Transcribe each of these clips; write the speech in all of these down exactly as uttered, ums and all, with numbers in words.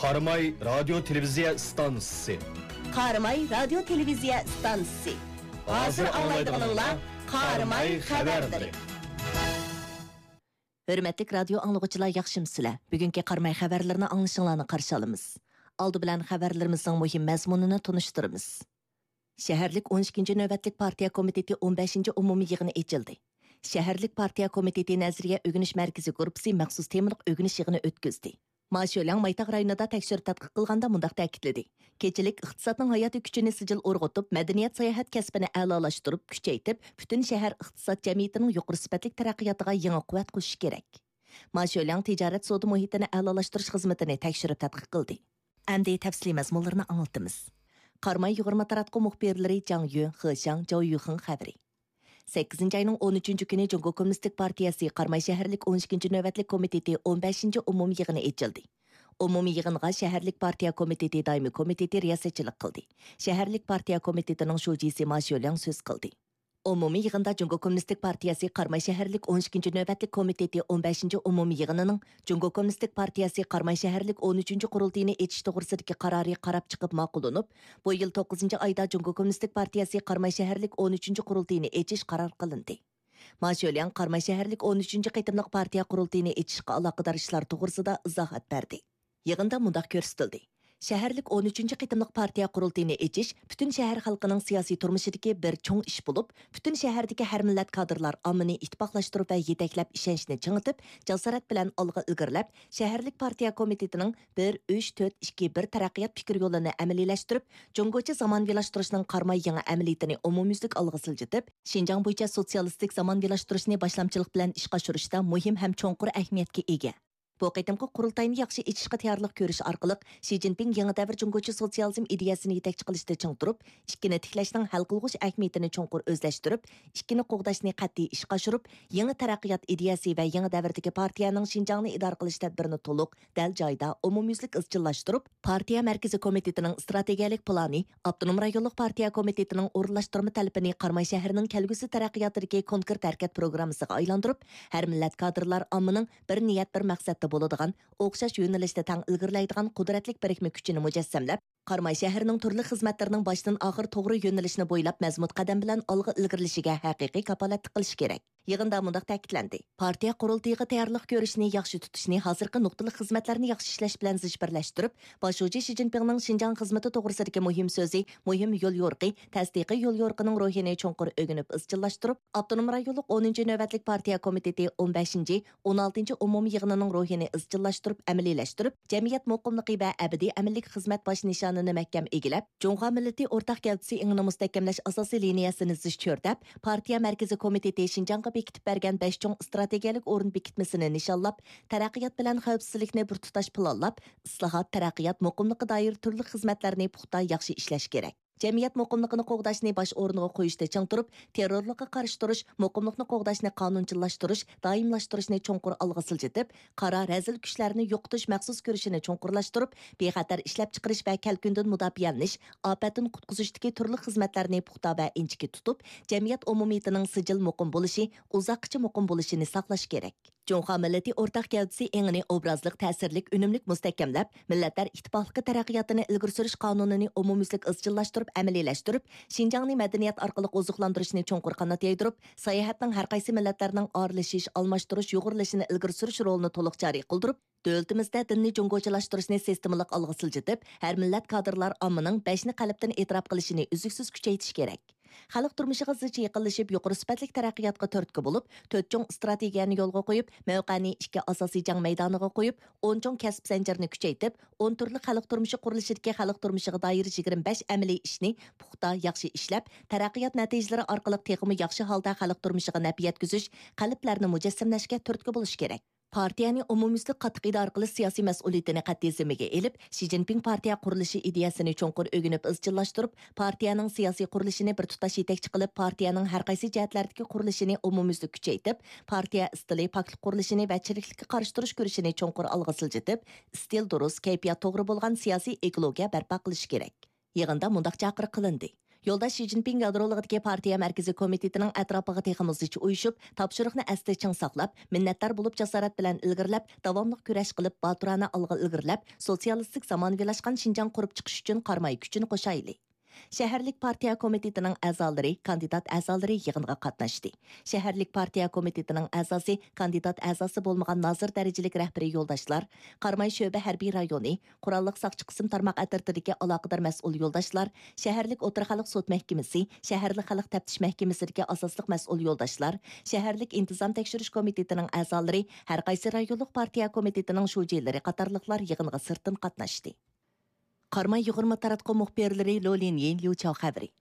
قاراماي رادىيو تېلېۋىزىيە ئىستانسىسى. قاراماي رادىيو تېلېۋىزىيە ئىستانسىسى. ھازىر ئاڭلايدىغىنىڭلار قاراماي خەۋەرلىرى. ھۆرمەتلىك رادىيو ئاڭلىغۇچىلار، ياخشىمۇسىلەر؟ بۈگۈنكى قاراماي خەۋەرلىرىنى ئاڭلىشىڭلارنى قارشى ئالىمىز. ئالدى بىلەن خەۋەرلىرىمىزنىڭ مۇھىم مەزمۇنىنى تونۇشتۇرىمىز. شەھەرلىك ئون ئىككىنچى نۆۋەتلىك پارتىيە كومىتېتى ئون بەشىنچى ئومۇمىي يىغىنى ئېچىلدى. شەھەرلىك پارتىيە كومىتېتى نەزەرىيە ئۆگىنىش مەركىزى گۇرۇپپىسى مەخسۇس تېمىلىق ئۆگىنىش يىغىنى ئۆتكۈزدى. ما شۆلياڭ مايتاغ رايونىدا تەكشۈرۈپ تەتقىق قىلغاندا مۇنداق تەكىتلىدى: كېچىلىك ئىقتىسادنىڭ ھاياتىي كۈچىنى سىجىل ئۇرغۇتۇپ، مەدەنىيەت، ساياھەت كەسپىنى ئەلالاشتۇرۇپ، كۈچەيتىپ، پۈتۈن شەھەر ئىقتىساد جەمئىيىتىنىڭ يۇقىرى سۈپەتلىك تەرەققىياتىغا يېڭى قۇۋۋەت قوشۇش كېرەك. ما شۆلياڭ تىجارەت سودا مۇھىتىنى ئەلالاشتۇرۇش خىزمىتىنى تەكشۈرۈپ تەتقىق قىلدى. ئەمدى تەپسىلىي مەزمۇنلىرىنى ئاڭلىتىمىز. قاراماي يۇغۇرما تاراتقۇ مۇخبىرلىرى جاڭ يۈن، خې شياڭ، جاۋ يۈخېڭ خەۋىرى. سەككىزىنچى ئاينىڭ ئون ئۈچىنچى كۈنى جۇڭگو كوممۇنىستىك پارتىيەسى قاراماي شەھەرلىك ئون ئىككىنچى نۆۋەتلىك كومىتېتى ئون بەشىنچى ئومۇمىي يىغىنى ئېچىلدى. ئومۇمىي يىغىنغا شەھەرلىك پارتىيە كومىتېتى دائىمىي كومىتېتى رىياسەتچىلىك قىلدى. شەھەرلىك پارتىيە كومىتېتىنىڭ شۇجىسى ما شۆلياڭ سۆز قىلدى. ئومۇمىي يىغىندا جۇڭگو كوممۇنىستىك پارتىيەسى قاراماي شەھەرلىك ئون ئىككىنچى نۆۋەتلىك كومىتېتى ئون بەشىنچى ئومۇمىي يىغىنىنىڭ جۇڭگو كوممۇنىستىك پارتىيەسى قاراماي شەھەرلىك ئون ئۈچىنچى قۇرۇلتىيىنى ئېچىش توغرىسىدىكى قارارى قاراپ چىقىپ ماقۇللىنىپ، بۇ يىل توققۇزىنچى ئايدا جۇڭگو كوممۇنىستىك پارتىيەسى قاراماي شەھەرلىك ئون ئۈچىنچى قۇرۇلتىيىنى ئېچىش قارار قىلىندى. ما شۆلياڭ قاراماي شەھەرلىك ئون ئۈچىنچى قېتىملىق پارتىيە قۇرۇلتىيىنى ئېچىشقا ئالاقىدار ئىشلار توغرىسىدا ئىزاھات بەردى. يىغىندا مۇنداق كۆرسىتىلدى: شەھەرلىك ئون ئۈچىنچى قېتىملىق پارتىيە قۇرۇلتىيىنى ئېچىش پۈتۈن شەھەر خەلقىنىڭ سىياسىي تۇرمۇشىدىكى بىر چوڭ ئىش بولۇپ، پۈتۈن شەھەردىكى ھەر مىللەت كادىرلار ئاممىنى ئىتتىپاقلاشتۇرۇپ ۋە يېتەكلەپ، ئىشەنچنى چىڭىتىپ، جاسارەت بىلەن ئالغا ئىلگىرىلەپ، شەھەرلىك پارتىيە كومىتېتىنىڭ بىر ئۈچ تۆت ئىككى بىر تەرەققىيات پىكىر يولىنى ئەمەلىيلەشتۈرۈپ، جۇڭگوچە زامانىۋىلاشتۇرۇشنىڭ قاراماي يېڭى ئەمەلىيىتىنى ئومۇميۈزلۈك ئالغا سىلجىتىپ، شىنجاڭ بويىچە سوتسىيالىستىك زامانىۋىلاشتۇرۇشنى باشلامچىلىق بىلەن ئىشقا ئاشۇرۇشتا مۇھىم ھەم چوڭقۇر ئەھمىيەتكە ئىگە. بۇ قېتىمقى قۇرۇلتاينى ياخشى ئېچىشقا تەييارلىق كۆرۈش ئارقىلىق، شى جىنپىڭ يېڭى دەۋر جۇڭگوچە سوتسىيالىزم ئىدىيەسىنى يېتەكچى قىلىشتا چىڭ تۇرۇپ، ئىككىنى تىكلەشنىڭ ھەل قىلغۇچ ئەھمىيىتىنى چوڭقۇر ئۆزلەشتۈرۈپ، ئىككىنى قوغداشنى قەتئىي ئىشقا ئاشۇرۇپ، يېڭى تەرەققىيات ئىدىيەسى ۋە يېڭى دەۋردىكى پارتىيەنىڭ شىنجاڭنى ئىدارە قىلىش تەدبىرىنى تولۇق، دەل جايىدا، ئومۇميۈزلۈك ئىزچىللاشتۇرۇپ، پارتىيە مەركىزىي كومىتېتىنىڭ ئىستراتېگىيەلىك پىلانى، ئاپتونوم رايونلۇق پارتىيە كومىتېتىنىڭ ئورۇنلاشتۇرما تەلىپىنى قاراماي شەھىرىنىڭ كەلگۈسى تەرەققىياتىدىكى كونكرېت ھەرىكەت پروگراممىسىغا ئايلاندۇرۇپ، ھەر مىللەت كادىرلار ئاممىنىڭ بىر نىيەت، بىر مەقسەتتە بولىدىغان، ئوخشاش يۆنىلىشتە تەڭ ئىلگىرىلەيدىغان قۇدرەتلىك بىرىكمە كۈچىنى مۇجەسسەملەپ، قاراماي شەھىرىنىڭ تۈرلۈك خىزمەتلىرىنىڭ باشتىن ئاخىر توغرا يۆنىلىشنى بويلاپ مەزمۇت قەدەم بىلەن ئالغا ئىلگىرىلىشىگە ھەقىقىي كاپالەتلىك قىلىش كېرەك. يىغىندا مۇنداق تەكىتلەندى: پارتىيە قۇرۇلتىيىغا تەييارلىق كۆرۈشنى ياخشى تۇتۇشنى، ھازىرقى نۇقتىلىق خىزمەتلەرنى ياخشى ئىشلەش بىلەن زىچ بىرلەشتۈرۈپ، باش شۇجى شى جىنپىڭنىڭ شىنجاڭ خىزمىتى توغرىسىدىكى مۇھىم سۆزى، مۇھىم يوليورۇقى، تەستىقىي يوليورۇقىنىڭ روھىنى چوڭقۇر ئۆگىنىپ ئىزچىللاشتۇرۇپ، ئاپتونوم رايونلۇق ئونىنچى نۆۋەتلىك پارتىيە كومىتېتى ئون بەشىنچى، ئون ئالتىنچى ئومۇمىي يىغىنىنىڭ روھىنى ئىزچىللاشتۇرۇپ ئەمەلىيلەشتۈرۈپ، جەمئىيەت مۇقىملىقى ۋە ئەبەدىي ئەمىنلىك خىزمەت باش نىشانىنى مەھكەم ئىگىلەپ، جۇڭخۇا مىللىتى ئورتاق گەۋدىسى ئېڭىنى مۇستەھكەملەش ئاساسىي لىنىيەسىنى زىچ چۆرىدەپ، پارتىيە مەركىزىي كومىتېتى شىنجاڭغا بېكىتىپ بەرگەن بەش چوڭ ئىستراتېگىيەلىك ئورۇن بېكىتمىسىنى نىشانلاپ، تەرەققىيات بىلەن خەۋپسىزلىكنى بىر تۇتاش پىلانلاپ، ئىسلاھات، تەرەققىيات، مۇقىملىققا دائىر تۈرلۈك خىزمەتلەرنى پۇختا، ياخشى ئىشلەش كېرەك. جەمئىيەت مۇقىملىقىنى قوغداشنى باش ئورۇنغا قويۇشتا چىڭ تۇرۇپ، تېررورلۇققا قارشى تۇرۇش، مۇقىملىقنى قوغداشنى قانۇنچىللاشتۇرۇش، دائىملاشتۇرۇشنى چوڭقۇر ئالغا سىلجىتىپ، قارا، رەزىل كۈچلەرنى يوقىتىش مەخسۇس كۈرىشىنى چوڭقۇرلاشتۇرۇپ، بىخەتەر ئىشلەپچىقىرىش ۋە كەلكۈندىن مۇداپىئەلىنىش، ئاپەتتىن قۇتقۇزۇشتىكى تۈرلۈك خىزمەتلەرنى پۇختا ۋە ئىنچىكە تۇتۇپ، جەمئىيەت ئومۇمىيىتىنىڭ سىجىل مۇقىم بولۇشى، ئۇزاققىچە مۇقىم بولۇشىنى ساقلاش كېرەك. جۇڭخۇا مىللىتى ئورتاق گەۋدىسى ئېڭىنى ئوبرازلىق، تەسىرلىك، ئۈنۈملۈك مۇستەھكەملەپ، مىللەتلەر ئىتتىپاقلىقى تەرەققىياتىنى ئىلگىرى سۈرۈش قانۇنىنى ئومۇميۈزلۈك ئىزچىللاشتۇرۇپ ئەمەلىيلەشتۈرۈپ، شىنجاڭنى مەدەنىيەت ئارقىلىق ئوزۇقلاندۇرۇشنى چوڭقۇر قانات يايدۇرۇپ، ساياھەتنىڭ ھەر قايسى مىللەتلەرنىڭ ئارىلىشىش، ئالماشتۇرۇش، يۇغۇرۇلۇشىنى ئىلگىرى سۈرۈش رولىنى تولۇق جارى قىلدۇرۇپ، دۆلىتىمىزدە دىننى جۇڭگوچىلاشتۇرۇشنى سىستېمىلىق ئالغا سىلجىتىپ، ھەر مىللەت كادىرلار ئاممىنىڭ بەشنى قەلبتىن ئېتىراپ قىلىشىنى ئۈزلۈكسىز كۈچەيتىش كېرەك. خەلق تۇرمۇشىغا زىچ يېقىنلىشىپ، يۇقىرى سۈپەتلىك تەرەققىياتقا تۈرتكە بولۇپ، تۆت چوڭ ئىستراتېگىيەنى يولغا قويۇپ، مەۋقەنى ئىككى ئاساسىي جەڭ مەيدانىغا قويۇپ، ئون چوڭ كەسىپ زەنجىرىنى كۈچەيتىپ، ئون تۈرلۈك خەلق تۇرمۇشى قۇرۇلۇشىدىكى خەلق تۇرمۇشىغا دائىر يىگىرمە بەش ئەمەلىي ئىشنى پۇختا، ياخشى ئىشلەپ، تەرەققىيات نەتىجىلىرى ئارقىلىق تېخىمۇ ياخشى ھالدا خەلق تۇرمۇشىغا نەپ يەتكۈزۈش، قەلبلەرنى مۇجەسسەملەشكە تۈرتكە بولۇش كېرەك. پارتىيەنى ئومۇميۈزلۈك قاتتىق ئىدارە قىلىش سىياسىي مەسئۇلىيىتىنى قەتئىي زىممىگە ئېلىپ، شى جىنپىڭ پارتىيە قۇرۇلۇشى ئىدىيەسىنى چوڭقۇر ئۆگىنىپ ئىزچىللاشتۇرۇپ، پارتىيەنىڭ سىياسىي قۇرۇلۇشىنى بىر تۇتاش يېتەكچى قىلىپ، پارتىيەنىڭ ھەر قايسى جەھەتلەردىكى قۇرۇلۇشىنى ئومۇميۈزلۈك كۈچەيتىپ، پارتىيە ئىستىلى، پاكلىق قۇرۇلۇشىنى ۋە چىرىكلىككە قارشى تۇرۇش كۈرىشىنى چوڭقۇر ئالغا سىلجىتىپ، ئىستىل دۇرۇس، كەيپىيات توغرا بولغان سىياسىي ئېكولوگىيە بەرپا قىلىش كېرەك. يىغىندا مۇنداق چاقىرىق قىلىندى: يولداش شى جىنپىڭ گادرولۇغىدىكى پارتىيە مەركىزىي كومىتېتىنىڭ ئەتراپىغا تېخىمۇ زىچ ئۇيۇشۇپ، تاپشۇرۇقنى ئەستە چىڭ ساقلاپ، مىننەتدار بولۇپ جاسارەت بىلەن ئىلگىرىلەپ، داۋاملىق كۈرەش قىلىپ، باتۇرانە ئالغا ئىلگىرىلەپ، سوتسىيالىستىك زامانىۋىلاشقان شىنجاڭ قۇرۇپ چىقىش ئۈچۈن قاراماي كۈچىنى قوشايلى. شەھەرلىك پارتىيە كومىتېتىنىڭ ئەزالىرى، كاندىدات ئەزالىرى يىغىنغا قاتناشتى. شەھەرلىك پارتىيە كومىتېتىنىڭ ئەزاسى، كاندىدات ئەزاسى بولمىغان نازىر دەرىجىلىك رەھبىرىي يولداشلار، قاراماي شۆبە ھەربىي رايونى، قوراللىق ساقچى قىسىم تارماق ئەترىتىدىكى ئالاقىدار مەسئۇل يولداشلار، شەھەرلىك ئوتتۇرا خەلق سوت مەھكىمىسى، شەھەرلىك خەلق تەپتىش مەھكىمىسىدىكى ئاساسلىق مەسئۇل يولداشلار، شەھەرلىك ئىنتىزام تەكشۈرۈش كومىتېتىنىڭ ئەزالىرى، ھەر قايسى رايونلۇق پارتىيە كومىتېتىنىڭ شۇجىلىرى قاتارلىقلار يىغىنغا سىرتتىن قاتناشتى. قاراماي يۇغۇرما تاراتقۇ مۇخبىرلىرى لو لىنيىن، ليۇ چاۋ خەۋىرى.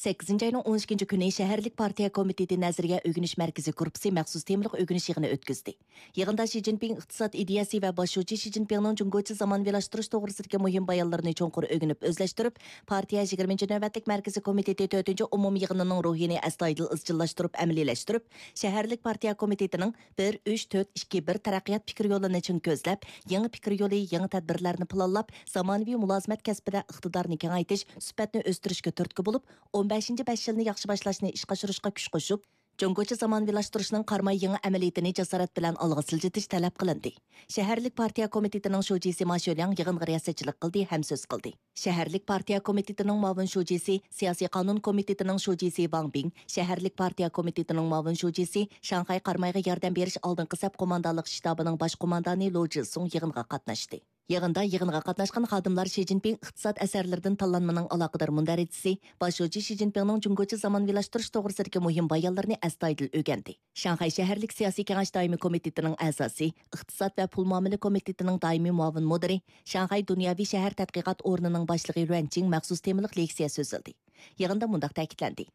سەككىزىنچى ئاينىڭ ئون ئىككىنچى كۈنى شەھەرلىك پارتىيە كومىتېتى نەزەرىيە ئۆگىنىش مەركىزى گۇرۇپپىسى مەخسۇس تېمىلىق ئۆگىنىش يىغىنى ئۆتكۈزدى. يىغىندا شى جىنپىڭ ئىقتىساد ئىدىيەسى ۋە باش شۇجى شى جىنپىڭنىڭ جۇڭگوچە زامانىۋىلاشتۇرۇش توغرىسىدىكى مۇھىم بايانلىرىنى چوڭقۇر ئۆگىنىپ ئۆزلەشتۈرۈپ، پارتىيە يىگىرمىنچى نۆۋەتلىك مەركىزىي كومىتېتى تۆتىنچى ئومۇمىي يىغىنىنىڭ روھىنى ئەستايىدىل ئىزچىللاشتۇرۇپ ئەمەلىيلەشتۈرۈپ، شەھەرلىك پارتىيە كومىتېتىنىڭ بىر، ئۈچ، تۆت، ئىككى، بىر تەرەققىيات پىكىر يولىنى چىڭ كۆزلەپ، يېڭى پىكىر يولى، يېڭى تەدبىرلەرنى پىلانلاپ، زامانىۋى مۇلازىمەت كەسپىدە ئىقتىدارنى كېڭەيتىش، سۈپەتنى ئۆستۈرۈشكە تۈرتكە بولۇپ، ئون بەشىنچى بەش يىلنى ياخشى باشلاشنى ئىشقا ئاشۇرۇشقا كۈچ قوشۇپ، جۇڭگوچە زامانىۋىلاشتۇرۇشنىڭ قاراماي يېڭى ئەمەلىيىتىنى جاسارەت بىلەن ئالغا سىلجىتىش تەلەپ قىلىندى. شەھەرلىك پارتىيە كومىتېتىنىڭ شۇجىسى ما شۆلياڭ يىغىنغا رىياسەتچىلىك قىلدى ھەم سۆز قىلدى. شەھەرلىك پارتىيە كومىتېتىنىڭ مۇئاۋىن شۇجىسى، سىياسىي قانۇن كومىتېتىنىڭ شۇجىسى ۋاڭ بىڭ، شەھەرلىك پارتىيە كومىتېتىنىڭ مۇئاۋىن شۇجىسى، شاڭخەي قارامايغا ياردەم بېرىش ئالدىنقى سەپ قوماندانلىق شتابىنىڭ باش قوماندانى لو جىسۇڭ يىغىنغا قاتناشتى. يىغىندا يىغىنغا قاتناشقان خادىملار شى جىنپىڭ ئىقتىساد ئەسەرلىرىدىن تاللانمىنىڭ ئالاقىدار مۇندەرىجىسى، باش شۇجى شى جىنپىڭنىڭ جۇڭگوچە زامانىۋىلاشتۇرۇش توغرىسىدىكى مۇھىم بايانلىرىنى ئەستايىدىل ئۆگەندى. شاڭخەي شەھەرلىك سىياسىي كېڭەش دائىمىي كومىتېتىنىڭ ئەزاسى، ئىقتىساد ۋە پۇل مۇئامىلە كومىتېتىنىڭ دائىمىي مۇئاۋىن مۇدىرى، شاڭخەي دۇنياۋى شەھەر تەتقىقات ئورنىنىڭ باشلىقى رۈەن چىڭ مەخسۇس تېمىلىق لېكسىيە سۆزلىدى. يىغىندا مۇنداق تەكىتلەندى: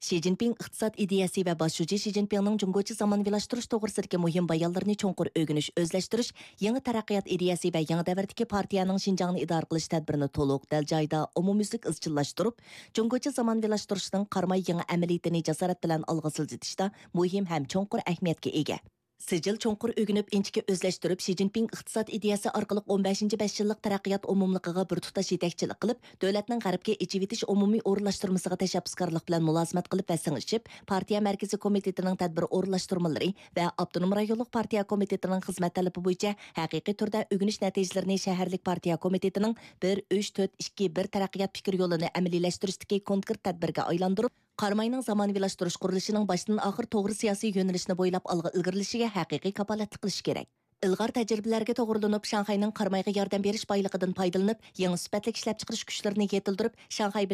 شى جىنپىڭ ئىقتىساد ئىدىيەسى ۋە باش شۇجى شى جىنپىڭنىڭ جۇڭگوچە زامانىۋىلاشتۇرۇش توغرىسىدىكى مۇھىم بايانلىرىنى چوڭقۇر ئۆگىنىش، ئۆزلەشتۈرۈش، يېڭى تەرەققىيات ئىدىيەسى ۋە يېڭى دەۋردىكى پارتىيەنىڭ شىنجاڭنى ئىدارە قىلىش تەدبىرىنى تولۇق، دەل جايىدا، ئومۇميۈزلۈك ئىزچىللاشتۇرۇپ، جۇڭگوچە زامانىۋىلاشتۇرۇشنىڭ قاراماي يېڭى ئەمەلىيىتىنى جاسارەت بىلەن ئالغا سىلجىتىشتا مۇھىم ھەم چوڭقۇر ئەھمىيەتكە ئىگە. سىجىل چوڭقۇر ئۆگىنىپ، ئىنچىكە ئۆزلەشتۈرۈپ، شى جىنپىڭ ئىقتىساد ئىدىيەسى ئارقىلىق ئون بەشىنچى بەش يىللىق تەرەققىيات ئومۇملۇقىغا بىر تۇتاش يېتەكچىلىك قىلىپ، دۆلەتنىڭ غەربكە ئېچىۋېتىش ئومۇمىي ئورۇنلاشتۇرمىسىغا تەشەببۇسكارلىق بىلەن مۇلازىمەت قىلىپ ۋە سىڭىشىپ، پارتىيە مەركىزىي كومىتېتىنىڭ تەدبىر ئورۇنلاشتۇرمىلىرى ۋە ئاپتونوم رايونلۇق پارتىيە كومىتېتىنىڭ خىزمەت تەلىپى بويىچە ھەقىقىي تۈردە ئۆگىنىش نەتىجىلىرىنى شەھەرلىك پارتىيە كومىتېتىنىڭ بىر، ئۈچ، تۆت، ئىككى، بىر تەرەققىيات پىكىر يولىنى ئەمەلىيلەشتۈرۈشتىكى كونكرېت تەدبىرگە ئايلاندۇرۇپ، قاراماينىڭ زامانىۋىلاشتۇرۇش قۇرۇلۇشىنىڭ باشتىن ئاخىر توغرا سىياسىي يۆنىلىشىنى بويلاپ ئالغا ئىلگىرىلىشىگە ھەقىقىي كاپالەتلىك قىلىشى كېرەك. ئىلغار تەجرىبىلەرگە توغرىلىنىپ، شاڭخەينىڭ قارامايغا ياردەم بېرىش بايلىقىدىن پايدىلىنىپ، يېڭى سۈپەتلىك ئىشلەپچىقىرىش كۈچلىرىنى يېتىلدۈرۈپ، شاڭخەي بىلەن